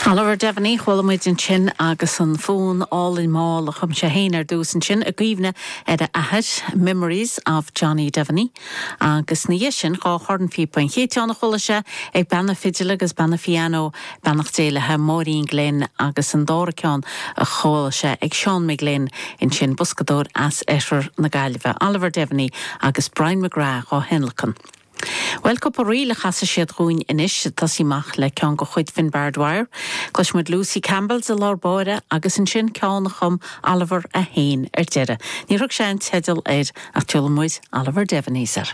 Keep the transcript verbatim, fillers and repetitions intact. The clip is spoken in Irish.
Oliver Devaney chuala muid ansin agus an fonn álainn mall a chum sé féin ar dtús ansin i gcuimhne ar a athair Memories of Johnny Devaney agus ina dhiaidh sin dhá chornphíopa an chéad cheann a chuala sé ag bean na fidile agus bean an phianó beannacht Dé léi Máirín Glynn agus an dara ceann a chuala sé ag Seán McGlynn ansin boscadóir as oirthear na Gaillimhe Oliver Devaney agus Brian McGrath á thionlacan. Well cúpla ríl a chasfaidh siad dúinn anois tosaí amach le ceann de chuid Finbar Dwyer, Cloisfimid Lucy Campbell's i lár báire agus ansin ceann a chum Oliver é féin ar deireadh. Níor thug sé an teideal air ach tuigfidh muid Oliver Devaney's air.